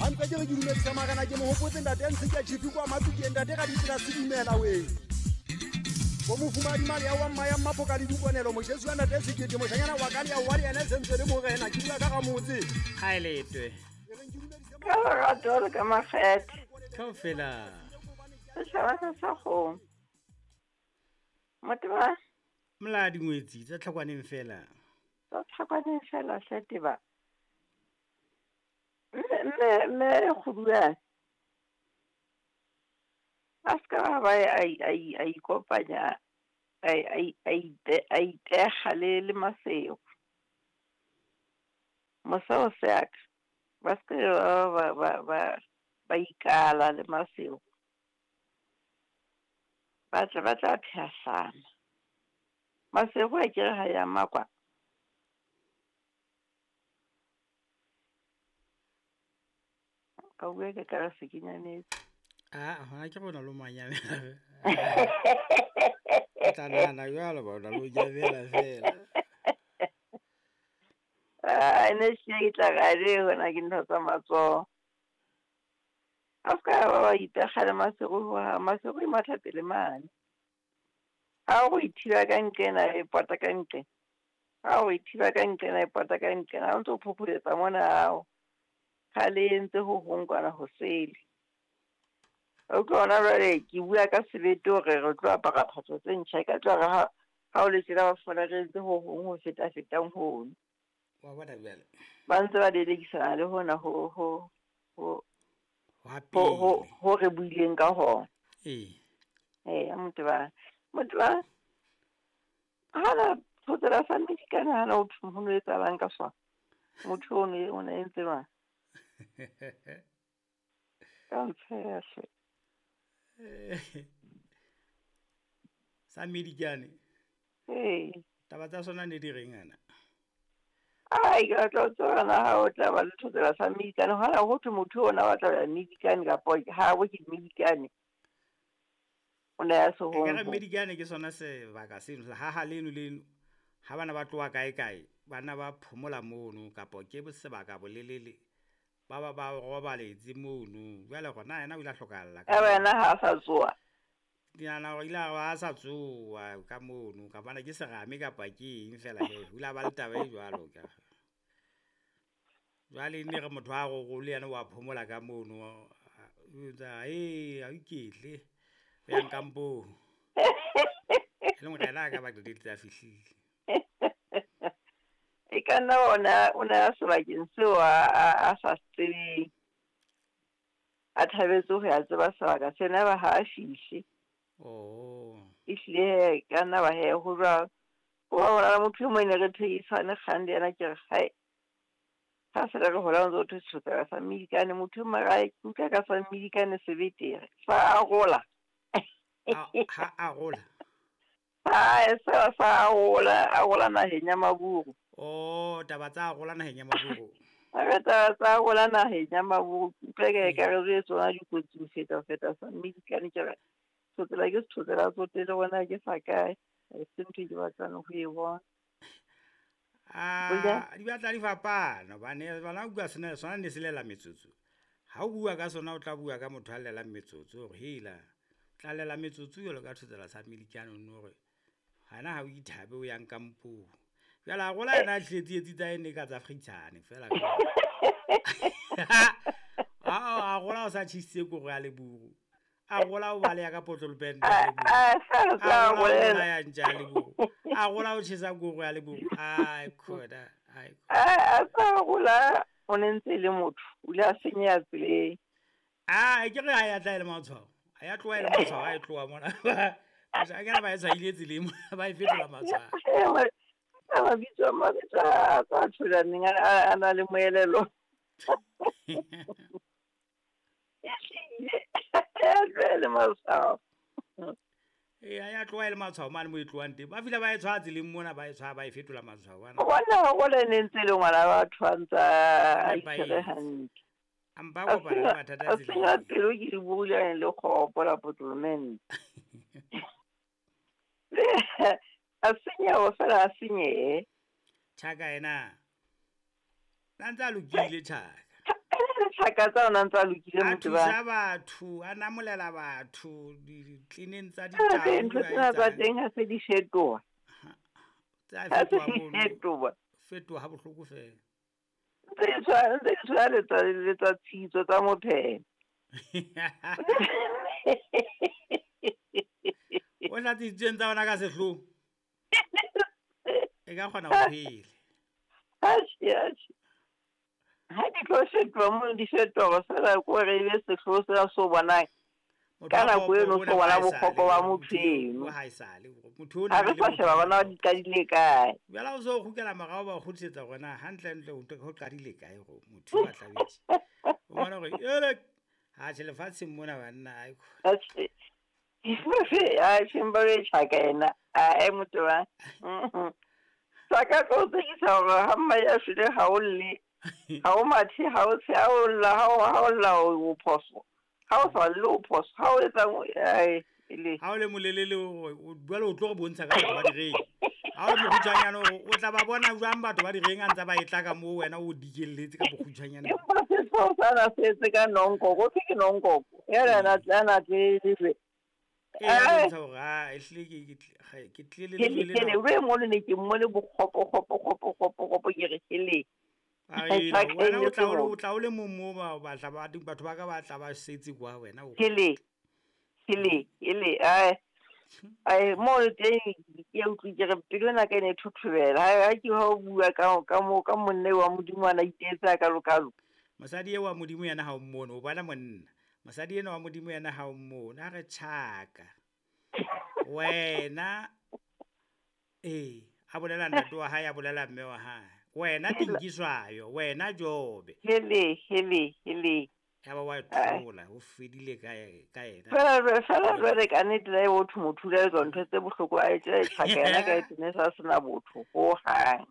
Ha ntse ke re ke dumedisa marena ke mo hopotse ntate ya ntse ke chief kwa Matukeng ntate ka ditsela se dumela we. Bo mofumadi mali ya wa mma ya mmapo ka le dikonelo moshesu wa ntate sekete moshanyana wa ka le ya wa le yena e sentse le morena ke bua ka ga motse. Ha e letwe. Ka lerato le ka makgethe. Kaofela. Setšhaba sa sa kgomo. Moteba. Mla dingwetsi tsa tlhakwaneng fela. Tsa tlhakwaneng fela hle teba. Mme mme mme kgoduane. A se ka ba a ikopanya a itega le le Masego. Moseo seaka ba se ba ba ba ba ikala le Masego. Ba tla ba tla phehlana. Masego a kere ha ya makwa. Ka bua ke ka se ke nyametse. Ah, hona ke rona lo manyamela. Tla nahana jwalo ba ona lo nyamela fela. Ah, ne se ke tla ga re hona ke ntho tsa matsoho. A se ka ba ba ipega le Masego ho ha Masego e matha pele mane. Ha o ithiba ka nqena e pota ka nqena. Ha o ithiba ka nqena e pota ka nqena. Ha o ntso phopholetsa mona hao. Ha le entse ho hong kwana ho sele. O utlwa hona jwale ke bua ka sebete hore re tlo apara phahlo tse ntjha. E ka tla re ha o le tjena ba fumana re entse ho hong ho feta-fetang hono. Wa bona jwale. Ba ntse ba lelekisana le hona ho ho ho Wa ho ho pele. ho re buileng ka hona. Ee. Ee, moteba. Moteba. Hana thotsela sa medikane hana ho thwe ho no etsahalang ka sona. Motho o ne o ne entse jwang? Ka ntsheha hle. Sa medikane. Ee. Taba tsa sona ne di reng ana? Ai, ke batla ho tseba na ha o tla ba le thotsela sa medikane. Hana ho thwe motho ona o batla ho ya medikane kapa ha bo ke medikane. O ne a se Ekare hong. medikane ke sona sebaka seno ha ha leno leno ha bana ba tloha kae kae bana ba phomola mono kapa ke sebaka bolelele ba ba ba robaletse mono. Jwale gona yena o ile a hlokahalla ka Ya wena ha a sa tsoha. Ke nahana hore ile a ba a sa tsoha ka mono kapa na ke serame kapa ke eng fela he. O ile a ba le taba e jwalo ka. Jwale ne re motho a rorole yena wa phomola ka mono. O etsa e a iketle. O yang kampong. E leng hore yena a ka ba qetelletse a fihlile. E ka nna ona o ne a sebakeng seo a sa se tsebeng. A thabetse ho ya tseba sebaka sena ba ha a fihle. Oh. Ehlile he ka nna ba he ho jwalo. Ho ba hona le motho e mong ne re thehisane kgang le yena ke re hae. Ha se re hola o ntso thwe thotsela sa medikane motho e mong a ke utlwa ka sa medikane sebete sa arola. Ha arola. Ha sa sa arola arola naheng ya maburu. Oh, taba tsa arola naheng ya maburu. Ha taba tsa arola naheng ya maburu. Utlwa ke ka re re tsona dikotsi ho feta feta sa medikane ke re thotsela ke thotsela tsote le bona ke sa kae. Ha se ntho e ke batlang ho e bona. Ah, di batla di fapana hobane bana bua sena sona ne se lela metsotso. Ha o bua ka sona o tla bua ka motho a llelang metsotso hore hela tla lela metsotso jwalo ka thotsela sa medikane no hore hana ha o ithabe o yang kampong. Jwale a rola yena a tletse tsa ene ka tsa Fritshane fela. A rola o sa tjhisitse koro ya leburu. A rola o baleya ka potlolopente ya leburu. A A rola o bolaya ntja ya leburu. A rola o tjhesa koro ya leburu. Ai khoda, ai. A sa rola o ne ntse le motho, o ile a senyeha tseleng. Ah, ke re ha ya tla e le matshwao. Ha ya tloha e le matshwao, ha e tloha mona. A ke re ba e tshwaile tseleng, ba e fetola matshwao. Mabitso mabitso a tsa tsholaneng a na le moelelo. E le matshwao. Ee, ha ya tloha e le matshwao mane mo e tlohang teng. Ba fihla ba e tshwaya tseleng mona, ba e tshwaya ba e fetola matshwao bana. Bona bona ne ntse le ngwana wa batho a ntsa a itshwere Nepahetse. hantle. A mpa a kopana le mathata A senya tseleng. pelo ke di buile le kgopo la potlolomente. A senyeha fela a senyehe. Tjhaka yena. Na ntse a lokile tjhaka. tjhaka tsa ona ntse a lokile A motho ba. thusa batho, a namolela batho ditleneng tsa Tsena tse ditau, ntho a tsena tsa etsang. teng ha se di fetoha. Tsa Ha se fetoha di mono. fetoha. Fetoha ha bohloko fela. Ntse di tshwana, ntse di tshwana le tsa le tsa tshitso tsa mophelo. O hlatsitsweng tsa ona ka sehloho. E ka kgona ho phela. Atjhe, atjhe. Ha di tlo fetoha mono di fetoha feela ke hore ebe sehloho sena se o bonang. Motho Ka wa nako kgopo eno o ona so bona ha esale, bokgopo ba motho motho eo eno. ha esale, motho ona Ha re e le sa motho sheba wa bona kgopo. di qadile kae. Jwale ha o so kgutlela morao ba o kgutlisetsa hore na hantle-ntle ho qadile kae hore motho wa tlabetse. O bona hore ele atjhe lefatsheng mona banna ai. Atjhe. Atjhe mpa e tjhaka ena. Ae motho wa. Tjhaka tlo tsekisa hore ha mma ya shwele ha o lle. Ha o mathe, ha o tshe, ha o lla, ha o lla o phoso. Ha o sa lle o phoso. Ha o etsang ae ele. Ha o le molelele o jwale o tlo re bontsha ka batho ba direng. Ha o le mokgutshwanyane o tla ba bona jwang batho ba direng a ntse ba e tla ka moo wena o dikelletse ka bokgutshwanyane. Empa sehlooho sana se etse ka nonkoko, ho thwe ke nonkoko. Yena a tle lejwe. E a bontsha hore ha ehlile ke tlile le Hele, lejwe hele, lena. o e mono ne ke mmone bokgopo, kgopo, kgopo, kgopo, kgopo, ke re hele. Ai, Tjhaka e wena ne o tla se o le motho. o tla o le mong moo ba batla ba batho ba ka ba tla ba setse kwa wena o. Hele, hele, hele, ae. Ae, moo le teng ke a utlwe ke re pelo ena ka e ne e thothobela. Ha ke ha o bua ka ka mo ka monna eo wa Modimo a na itetse a kalo-kalo. Mosadi eo wa Modimo yena ha o mmone, o bona monna. Mosadi ena wa Modimo yena ha o mmone, a re tjhaka. Wena ee, a bolela ntate wa hae, a bolela mme wa hae. Wena Tinkiswayo, wena Jobe. Hele, hele, hele. Ya ba wa thola, ho fedile ka ka yena. Fela jwale ka nnete la e botho motho o ile a etsa ntho tse bohloko a etse tjhaka yena ka e tene sa sena botho hohang.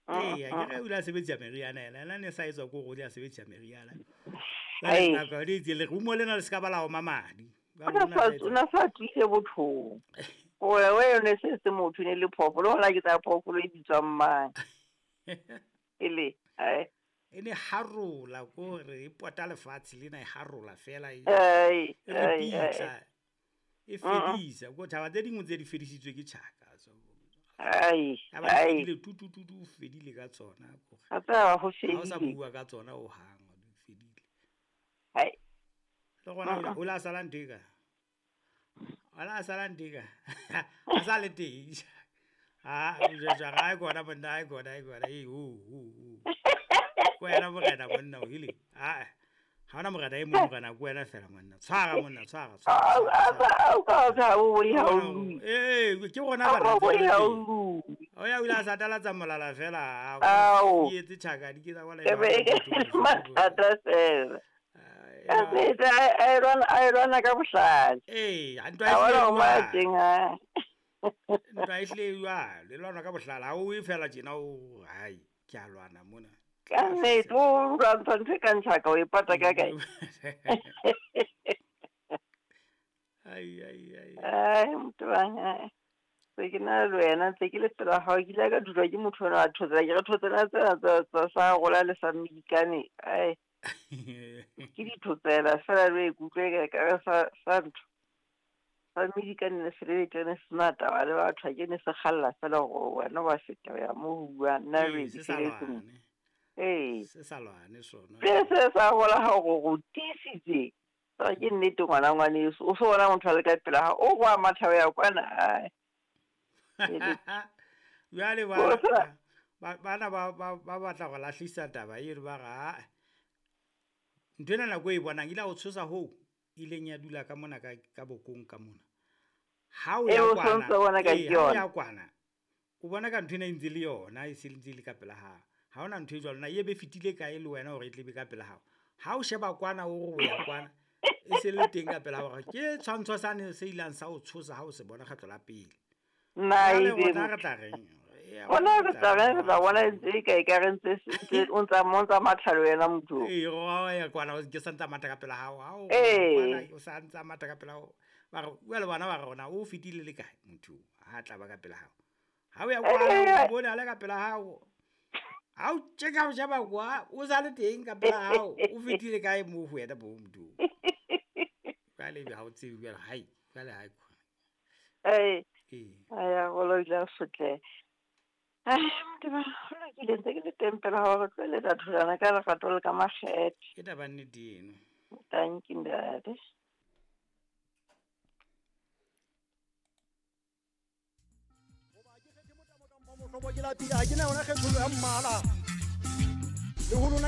Ee, akere o ile a sebedisa meriana ena, ena ne sa etswa ke hore o ile a sebedisa meriana. Ai. Jwale nako le itse lerumo lena le se ka ba la oma madi. O na sa tswile bothong. Hore we yone se se motho ne le phoofolo, hona ke tsa phoofolo e bitswang mang. Ele, ai. E ne harola ko hore e pota lefatshe lena e harola fela e. Ai, E ai, ai. ripitla. E fedisa, ko taba tse dingwe tse di fedisitswe ke tjhaka. So Ai, ya ba ai. fedile tu tu tu tu fedile ka tsona ko. Ha tsaba ho Ha o sa fedile. bua ka tsona ho hang, di fedile. Ai. Le gona o la sala ntho e ka. O la sala ntho e ka. A sa le teng. Ah, o jwetsa ga e kona monna, e kona, e kona. Ee, ho ho ho. Ko wena morena monna o ile. Ah. Ha ona morena e mong morena ko wena fela monna. Tshwara monna, tshwara, tshwara. Au ka ka o boi ha o lue. Ee, ke rona Au bana o boi tse ha o teng. lue. O ya o ile a satalatsa molala fela. Ao. E etse tjhaka di ke tsa kwala. E be e ke mathata fela. Ka nnete a e lwana ka bohlale. Ee, ha ntwa A e bona hlile ho ma jwalo. teng ha. Ntwa e hlile jwalo, e lwanwa ka bohlale. Ha o e fela tjena o hai, ke a lwana mona. Ka nnete o lwantsha ntho e kang tjhaka o e pata ka kae. Ai ai ai. Ai motho wa ai. Se ke na le wena ntse ke le pela hao ke ile ka dulwa ke motho ona wa thotsela ke re thotsela tsena tsa sa rola le sa mmidikane. Ai ke dithotsela fela le ikutlwe ka re sa sa ntho. Sa mmidikane ne se le tene se na taba le batho ha ke ne se kgalla fela hore wena wa feta ho ya moo ho buang nna Ee, le se ke sa feletse mo. lwane. Ee. Se sa lwane sona. Se se sa hola ha hore o tiisitse. Taba ke nnete ngwana ngwaneso. O so bona motho a le ka pela hao, o kwa matha ho ya kwana ai. Jwale Hore fela bana ba batla go lahlisa taba eno ba re aa. Ntho ena nako e bonang ile o tshosa hoo ileng ya dula ka mona ka bokong ka mona. Ha o E ya o kwana, sontso bona ka ee, ke ha o yona. ya kwana, o bona ka ntho ena e ntse le yona e se ntse e le ka pela hao. Ha hona ntho e jwalo na e be fetile kae le wena hore e tle be ka pela hao. Ha o sheba kwana o re o ya kwana, e se le teng ka pela hao. Ke tshwantsho sane se ilang sa o tshosa ha o se bona kgetlo la pele. Na Jwale ebe rona re tla reng? Eya, Rona rona re tla reng, re tla bona ntse e ka ekare ntse o ntsa mo ntsa matha le wena motho. Ee, o ya kwana ke sa ntsa matha ka pela hao. Ha o Ee. kwana o sa ntsa matha ka pela hao. Ba re jwale bona ba re rona o fetile le kae motho ha tla ba ka pela hao. Ha o ya kwana o bone a le ka pela hao. Ha o tjeka o sheba kwa, o sa le teng ka pela hao, o fetile kae moo ho wena bo motho. Jwale ebe ha o tsebe jwale, hai, jwale hai khona. Ee. Ee. Aya, golo ile a sotleha. Ai, motho ba, ho lokile ntse ke le teng pela hao, re tlo eletsa tholwana ka lerato le ka makgethe. Ke taba nnete eno. Tanki ntate. Goba ke kgethe motamo kampo mohlobo ke lapile, ga ke na yona kgethollo ya mmala. Le ho lona